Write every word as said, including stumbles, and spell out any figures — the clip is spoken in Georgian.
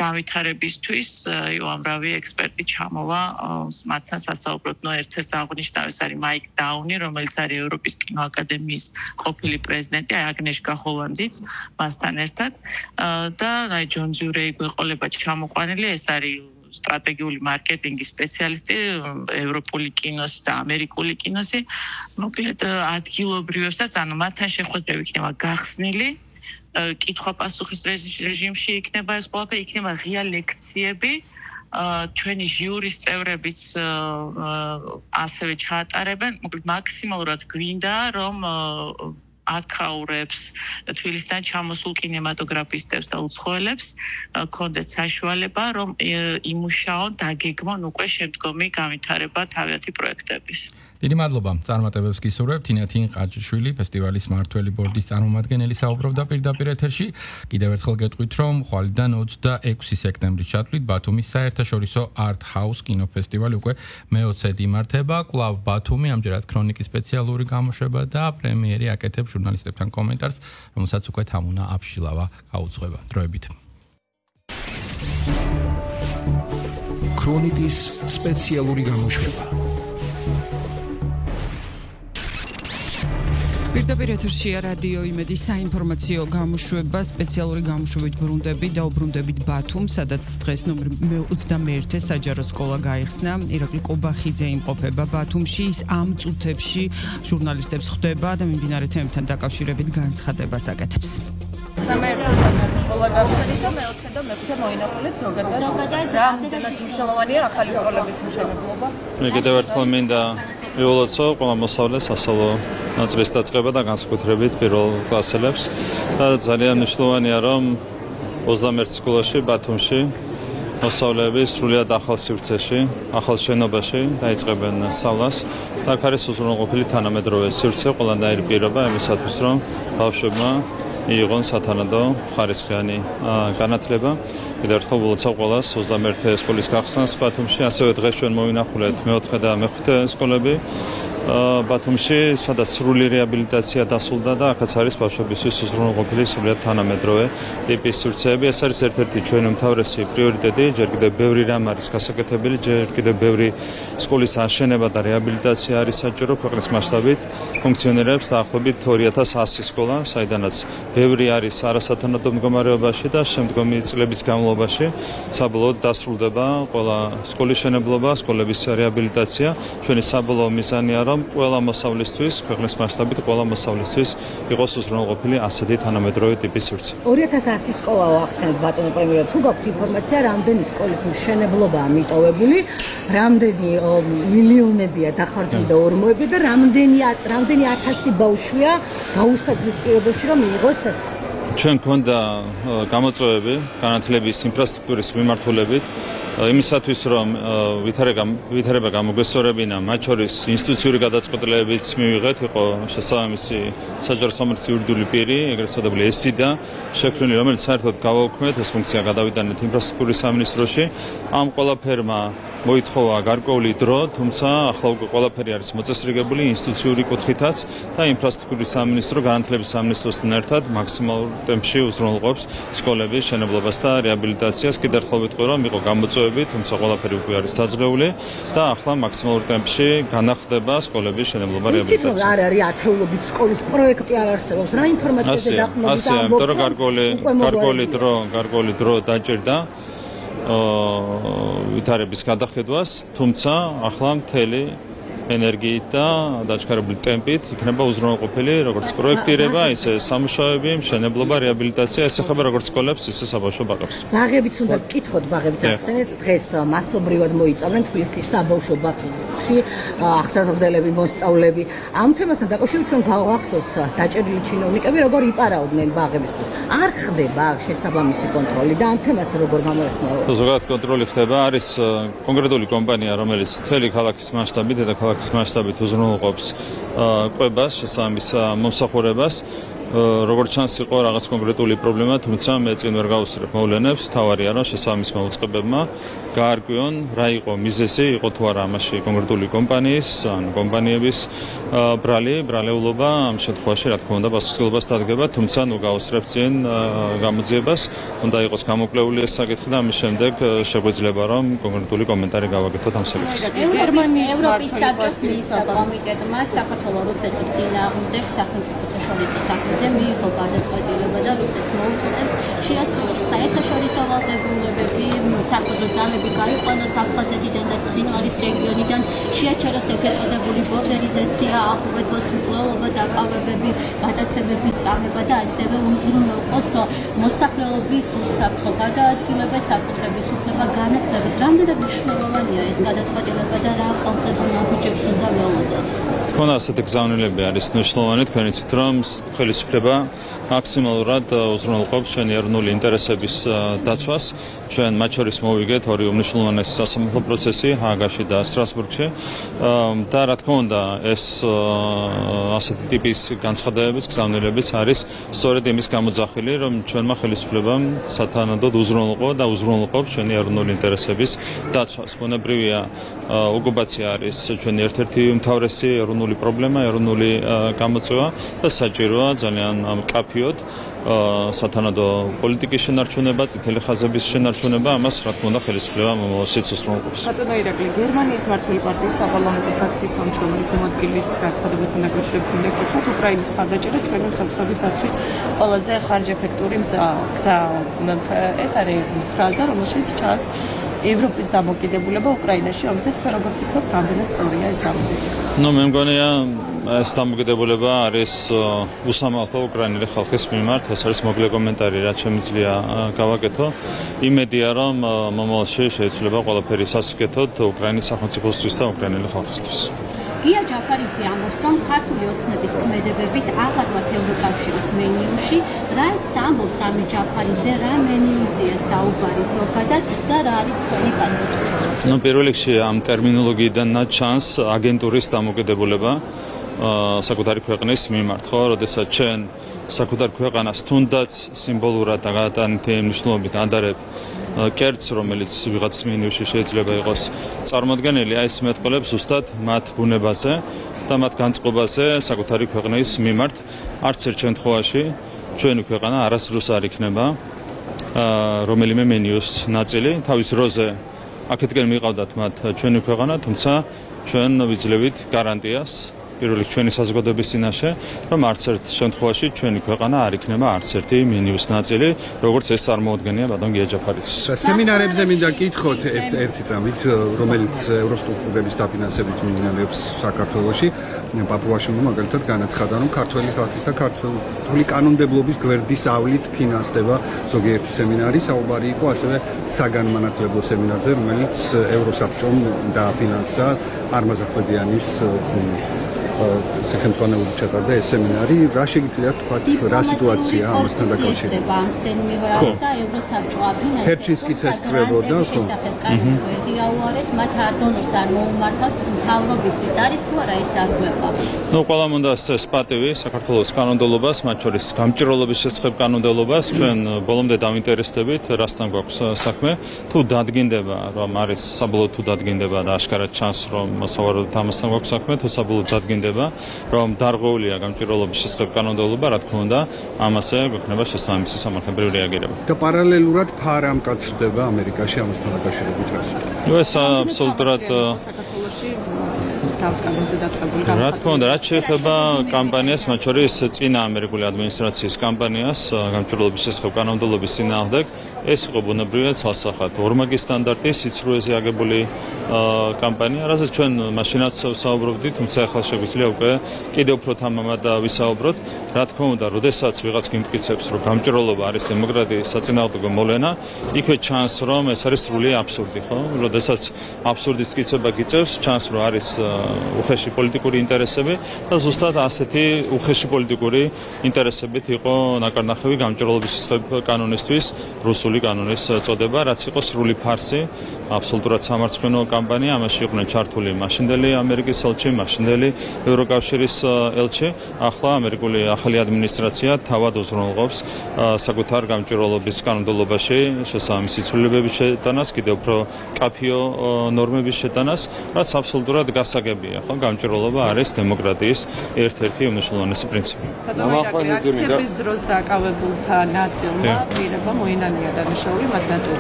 გავითარებისთვის უამრავი ექსპერტი ჩამოვა მათთან სასაუბროდ. ნუ ერთ-ერთი აღნიშნავ ეს არის მაიკ დაუნი, რომელიც არის ევროპის კინოაკადემიის ყოფილი პრეზიდენტი, აი აგნეშკა ჰოლანდიც მასთან ერთად და აი ჯონ ჯურეი გვეყოლება ჩამოყვანილი, ეს არის სტრატეგიული მარკეტინგის სპეციალისტი ევროპული კინოს და ამერიკული კინოსი. მოკლედ ადგილობრივებსაც, ანუ მათთან შეხვედრები იქნება გახსნილი, კითხვა-პასუხის რეჟიმში იქნება ეს ყველაფერი, იქნება ღია ლექციები, ჩვენი ჟიურის წევრებიც ასევე ჩაატარებენ. მოკლედ მაქსიმალურად გვინდა, რომ აკაურებს თბილისიდან ჩამოსულ კინემატოგრაფისტებს და უცხოელებს ქონდეთ საშუალება, რომ იმუშაონ, დაგეგმონ უკვე შემდგომი განვითარება თავიანთი პროექტების. დიდი მადლობა. წარმატებებს გისურვებთ. თინათინ ყაჩიშვილი, ფესტივალის მმართველი ბორდის წარმომადგენელი საუბრობდა პირდაპირ ეთერში. კიდევ ერთხელ გეტყვით, რომ ხვალიდან ოცდაექვსი სექტემბრის ჩათვლით ბათუმის საერთაშორისო Art House კინოფესტივალი უკვე მეოცედ იმართება. კვლავ ბათუმი, ამჯერად ქრონიკის სპეციალური გამოშვება და პრემიერი აკეთებს ჟურნალისტებთან კომენტარს, რომელსაც უკვე თამუნა აფშილავა გაუძღვება. დროებით. ქრონიკის სპეციალური გამოშვება. პირდაპირ ეთერშია რადიო იმედის საინფორმაციო გამოშვება, სპეციალური გამოშვებით ბრუნდებით და უბრუნდებით ბათუმ, სადაც დღეს ნომერ ოცდამეერთე საჯარო სკოლა გაიხსნა. ირაკლი კობახიძე იმყოფება ბათუმში, ის ამ წუთებში ჟურნალისტებს ხვდება და მიმდინარე თემებთან დაკავშირებით განცხადებას აკეთებს. ოცდამეერთე საჯარო სკოლა გაიხსნა და მეოთხე და მეხუთე მოინახულეთ ზოგადად. რამდენად მნიშვნელოვანია ახალი სკოლების მშენებლობა? მე კიდევ ერთხელ მინდა ვიოლოცო ყველა მოსწავლეს სასწავლო ნაწილის დაწყება და განსაკუთრებით პირველ კლასელებს და ძალიან მნიშვნელოვანია, რომ ოცდამეერთე სკოლაში ბათუმში მოსწავლეები სრულიად ახალ სივრცეში, ახალ შენობაში დაიწყებენ სწავლას და აქ არის უზრუნველყოფილი თანამედროვე სივრცე, ყველანაირი პირობა იმისათვის, რომ ბავშვებმა მიიღონ სათანადო ხარისხიანი განათლება. კიდევ ერთხელ ვილოცავ ყველას ოცდამეერთე სკოლის გახსნას ბათუმში, ასევე დღეს ჩვენ მოვინახულეთ მეოთხე და მეხუთე სკოლები ბათუმში, სადაც სრული რეაბილიტაცია დასრულდა და აქაც არის ბავშვებისთვის უზრუნველყოფილი სრულიად თანამედროვე ტიპის სივრცეები. ეს არის ერთ-ერთი ჩვენი უმთავრესი პრიორიტეტი, ჯერ კიდევ ბევრი რამ არის გასაკეთებელი, ჯერ კიდევ ბევრი სკოლის აშენება და რეაბილიტაცია არის საჭირო. ქვეყნის მასშტაბით ფუნქციონირებს დაახლოებით ორი ათას ასი სკოლა, საიდანაც ბევრი არის არასათანადო მდგომარეობაში და შემდგომი წლების განმავლობაში საბოლოოდ დასრულდება ყველა სკოლის შენებლობა, სკოლების რეაბილიტაცია. ჩვენი საბოლოო მიზანია, რომ ყველა მოსავლისთვის, ქვეყნის მასშტაბით ყველა მოსავლისთვის იყოს უზრუნველყოფილი ასეთი თანამედროვე ტიპის სივრცე. ორი ათას ასი სკოლა ახსენეთ ბატონო პრემიერ, თუ გაქვთ ინფორმაცია, რამდენი სკოლის მშენებლობაა მიტოვებული, რამდენი მილიონებია დახარჯული და ორმოები და რამდენი რამდენი ათასი ბავშვია გაუსაძლის პირობებში, რომ მიიღოს ეს? ჩვენ გვქონდა გამოწვევები განათლების ინფრასტრუქტურის მიმართულებით, იმისათვის, რომ ვითარება გამოგვესწორებინა, მათ შორის ინსტიტუციური გადაწყვეტილებებიც მივიღეთ, იყო შესაბამისი საჯარო სამართლის იურიდიული პირი, ეგრეთ წოდებული ესიდა შექმნილი, რომელიც საერთოდ გავაუქმეთ, ეს ფუნქცია გადავიტანეთ ინფრასტრუქტურის სამინისტროში. ამ ყველაფერმა მოითხოვა გარკვეული დრო, თუმცა ახლა უკვე ყველაფერი არის მოწესრიგებული ინსტიტუციური კუთხითაც და ინფრასტრუქტურის სამინისტრო განათლების სამინისტროსთან ერთად მაქსიმალურ ტემპში უზრუნველყოფს სკოლების შენებლობას და რეაბილიტაციას. კიდევ ერთხელ ვიტყვი, რომ იყო გამოწვევები, თუმცა ყველაფერი უკვე არის დაძღეული და ახლა მაქსიმალურ ტემპში განახლდება სკოლების შენებლობა, რეაბილიტაცია. არ არის ათეულობით სკოლის პროექტი არ არსებობს. რა ინფორმაციაზე დაყრდნობით? ასე, იმიტომ რომ გარკვეული გარკვეული დრო, გარკვეული დრო დაჭირდა ვითარების გადახედვას, თუმცა ახლა მთელი ენერგიით და დაჩქარებული ტემპით იქნება უზრუნველყოფილი როგორც პროექტირება, ისე სამუშაოები, მშენებლობა, რეაბილიტაცია, ეს ეხება როგორც სკოლებს, ისე საბავშვო ბაღებს. ბაღებიც უნდა გკითხოთ, ბაღებიც ახსენეთ, დღეს მასობრივად მოიწამნენ თბილისის საბავშვო ბაღში ახსაზრდელები, მოსწავლეები. ამ თემასთან დაკავშირებით ჩვენ გავახსოვს დაჭერილი ჩინოვნიკები როგორ იპარავდნენ ბაღებისთვის. არ ხდება შესაბამისი კონტროლი და ამ თემას როგორ გამოეხმაურებთ? ზოგადად კონტროლი ხდება, არის კონკრეტული კომპანია, რომელიც მთელი ქალაქის მასშტაბით და ქალაქის მასშტაბით უზრუნველყოფს კვებას, შესაბამის მომსახურებას. როგორც ჩანს იყო რაღაც კონკრეტული პრობლემა, თუმცა მე წინ ვერ გავუსწრებ მოვლენებს, თავარია რომ შესაბამის მოუწყებებმა გაარკვიონ რა იყო მიზეზი, იყო თუ არა ამაში კონკრეტული კომპანიის, ან კომპანიების ბრალი, ბრალეულობა, ამ შემთხვევაში რა თქმა უნდა პასუხისმგებლობას დადგება, თუმცა ნუ გავუსწრებ წინ გამოძიებას, უნდა იყოს გამოკვლეული ეს საკითხი და ამის შემდეგ შეგვიძლია რომ კონკრეტული კომენტარი გავაკეთოთ ამ საკითხს. გერმანიის ევროპის საბჭოს მინისტრთა კომიტეტმა საქართველოს რუსეთის წინააღმდეგ სახელმწიფოთაშორისო საქმეზე მიიღო გადაწყვეტილება და რუსეთს მოუწოდებს შეასრულოს საერთაშორისო ვალდებულებები, სამხედრო ძალები გაიყვანოს აფხაზეთიდან და ცხინვალის რეგიონიდან, შეაჩეროს ეგრეთ წოდებული ბორდერიზაცია, ახურეთოს მკვლელობა, დაკავებები, გადაცემები, წამება და ასევე უზრუნველყოს მოსახლეობის უსაფრთხო გადაადგილება, საკუთრების უფლება განათლების. რამდენად მნიშვნელოვანია ეს გადაწყვეტილება და რა კონკრეტულ ნაბიჯებს უნდა ველოდოთ? თქო, ასეთი გზავნილები არის მნიშვნელოვანი, თქვენ იცით რომ ხელისუფლება მაქსიმალურად უზრუნველყოფს ჩვენი ეროვნული ინტერესების დაცვას. ჩვენ მათ შორის მოვიგეთ ორი უმნიშვნელოვანესი სასამართლო პროცესი ჰააგაში და სტრასბურგში და რა თქმა უნდა ეს ასეთი ტიპის განცხადებებიც, გზავნილებიც არის სწორედ იმის გამოძახილი, რომ ჩვენმა ხელისუფლებამ სათანადოდ უზრუნველყო და უზრუნველყოფს ჩვენი ეროვნული ინტერესების დაცვას. ბუნებრივია, ოკუპაცია არის ჩვენი ერთ-ერთი უმთავრესი ეროვნული პრობლემა, ეროვნული გამოწვევა და საჭიროა ძალიან მკაფიოდ სათანადო პოლიტიკის შენარჩუნება, წითელი ხაზების შენარჩუნება, ამას რა თქმა უნდა ხელისუფლება მომავალშიც უზრუნველყოფს. ბატონო ირაკლი, გერმანიის მართული პარტიის საპარლამენტო ფრაქციის თავმჯდომარის მოადგილის განცხადებასთან დაკავშირებით უნდა გითხრათ, უკრაინის მხარდაჭერა ჩვენი უსაფრთხოების დაცვის ყველაზე ხარჯეფექტური გზა. ეს არის ფრაზა, რომელშიც ჩანს ევროპის დამოკიდებულება უკრაინაში, ამაზე თქვენ როგორ ფიქრობთ, რამდენად სწორია ეს დამოკიდებულება? ნუ მე მგონია ეს დამოკიდებულება არის უსამართლო უკრაინელი ხალხის მიმართ, ეს არის მოკლე კომენტარი, რაც შემიძლია გავაკეთო. იმედია, რომ მომავალში შეიძლება ყველაფერი სასიკეთოდ უკრაინის სახელმწიფოსთვის და უკრაინელი ხალხისთვის. გია ჯაფარიძე ამბობს, რომ ქართული ოცნების ქმედებებით აღარ ვართ ევროკავშირის მენიუში. რა ის ამბობს ამი ჯაფარიძე, რა მენიუზია საუბარი ზოგადად და რა არის თქვენი პასუხი? ნუ პირველ რიგში ამ ტერმინოლოგიიდან ჩანს აგენტურის დამოკიდებულება საკუთარი ქვეყნის მიმართ, ხო, როდესაც ჩვენ საკუთარ ქვეყანას თუნდაც სიმბოლურად და გადატანითი მნიშვნელობით ადარებ კერტს, რომელიც ვიღაც მენიუში შეიძლება იყოს წარმოდგენილი, აი ეს მეტყველებს ზუსტად მათ ბუნებაზე და მათ განწყობაზე საკუთარი ქვეყნის მიმართ. არც ერთ შემთხვევაში ჩვენი ქვეყანა არასდროს არ იქნება რომელიმე მენიუს ნაწილი. თავის დროზე აქეთკენ მიყავდათ მათ ჩვენი ქვეყანა, თუმცა ჩვენ ვიძლევით გარანტიას პირველ რიგში ჩვენი საზოგადოების წინაშე, რომ არც ერთ შემთხვევაში ჩვენი ქვეყანა არ იქნება არც ერთი მინიუს ნაწილი, როგორც ეს წარმოუდგენია ბატონ გია ჯაფარიძის. სემინარებზე მინდა გითხოთ ერთი წამით, რომელიც ევროსტრუქტურების დაფინანსებით მიმდინარეობს საქართველოში. პაპუაში მაგალითად განაცხადა, რომ ქართველი ხალხის და ქართული კანონმდებლობის გვერდის ავლით ფინანსდება ზოგიერთი სემინარი, საუბარი იყო ასევე საგანმანათლებლო სემინარზე, რომელიც ევროსაბჭომ დააფინანსა არმაზ ახვლედიანის სახელმწიფოური ჩატარდა ეს სემინარი. რა შეგიძლიათ თქვათ, რა სიტუაცია ამასთან დაკავშირებით? ჰერჩინსკიც ესწრებოდა, ხო? გაუარეს, მათ არ დონორს არ მოუმართავს მთავრობისთვის, არის თუ არა ეს დარღვევა? ნუ ყველამ უნდა ეს პატივი საქართველოს კანონმდებლობას, მათ შორის გამჭირვალობის შესახებ კანონმდებლობას, ჩვენ ბოლომდე დავინტერესდებით, რასთან გვაქვს საქმე, თუ დადგინდება, რომ არის საბოლოოდ თუ დადგინდება და ашკარად ჩანს, რომ სავარაუდოდ ამასთან გვაქვს საქმე, თუ საბოლოოდ დადგინდება, რომ დარღვეულია გამჭირვალობის შესახებ კანონმდებლობა, რა თქმა უნდა, ამაზე გვექნება შესაბამისი სამართლებრივი რეაგირება. და პარალელურად ფარ ამ კაცდება ამერიკაში ამასთან დაკავშირებით რას? ნუ ეს აბსოლუტურად რა თქმა უნდა, რაც შეეხება კამპანიას, მათ შორის წინა ამერიკული ადმინისტრაციის კამპანიას, გამჭირვალობის შესახებ კანონმდებლობის წინააღმდეგ, ეს იყო ბუნებრივია ცალსახად ორმაგი სტანდარტის სიცრუეზე აგებული კამპანია, რასაც ჩვენ მაშინაც საუბრობდით, თუმცა ახლა შეგვიძლია უკვე კიდევ უფრო თამამად ვისაუბროთ. რა თქმა უნდა, როდესაც ვიღაც გიმტკიცებს, რომ გამჭირვალობა არის დემოკრატიის საწინააღმდეგო მოვლენა, იქვე ჩანს, რომ ეს არის სრული აბსურდი, ხო? როდესაც აბსურდის მტკიცება გიწევს, ჩანს, რომ არის უხეში პოლიტიკური ინტერესები და ზუსტად ასეთი უხეში პოლიტიკური ინტერესებით იყო ნაკარნახევი გამჭირვალობის შესახებ კანონისთვის, რუსული კანონის წოდება, რაც იყო სრული ფარსი, აბსოლუტურად სამარცხვინო კამპანია, ამაში იყვნენ ჩართული მაშინდელი ამერიკის ელჩი, მაშინდელი ევროკავშირის ელჩი. ახლა ამერიკული ახალი ადმინისტრაცია თავად უზრუნველყოფს საკუთარ გამჭვირვალობის კანონმდებლობაში შესაბამისი ცვლილებების შეტანას, კიდევ უფრო კაფეო ნორმების შეტანას, რაც აბსოლუტურად გასაგებია. ხო, გამჭვირვალობა არის დემოკრატიის ერთ-ერთი უმნიშვნელოვანესი პრინციპი. აქციების დროს დაკავებულთა ნაწილმა პირება მოინანია დანიშნული მათ ნაწილ